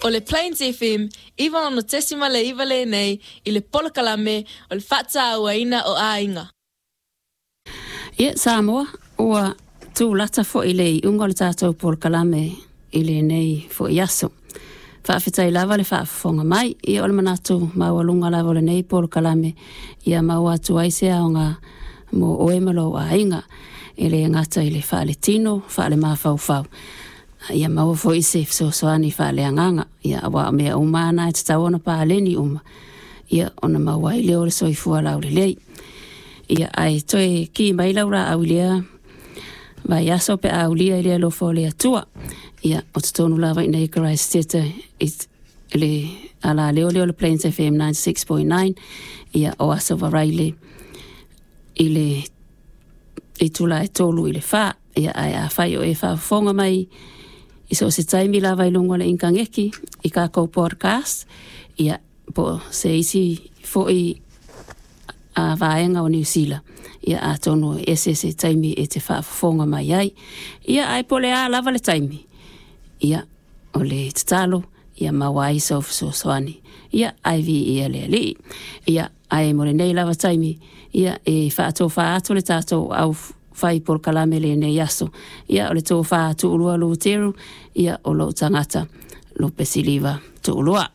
O le Plains FM 96.9 lenei i le polokalame o le faatauaina o aiga. Ia, Samoa, ua tulata foi le iuga o le tatou polokalame i lenei foi aso. Faafetai lava le faafofoga mai. Ia o le manatu maualuga lava o lenei polokalame ia maua atu ai se aoga mo oe ma lou aiga. E le gata i le faaletino, faalemafaufau, ia maua foi se fesoasoani faaleagaga. Ia aua o mea uma lava na e tatau ona paleni uma, ia ona maua ai lea o le soifua laulelei. Ia ae toe ki mai lau laau i lea vaiaso pe a aulia i le alofa o le Atua. Ia, o totonu lava i inei i Karaisiteta i le alaleo lea o le Plains FM 96.9, ia o Aso Faraile i le itula e 3 i le 4. Ia ae afai o e faafofoga mai i so o se taimi lava i luga o le initaneti i tatou podcast, ia po o se isi foi a vaega o Niu Sila, ia atonu e ese se taimi e te faafofoga mai ai. Ia ae po o le a lava le taimi, ia o le tatalo ia maua ai sou fesoasoani. Ia ae viia le Alii. Ia ae mo lenei lava taimi, ia e faatofa atu le tatou au fai polokalame i lenei aso. Ia o le tofa Tuulua Luteru, ia o lou tagata Lupesiliva Tuulua.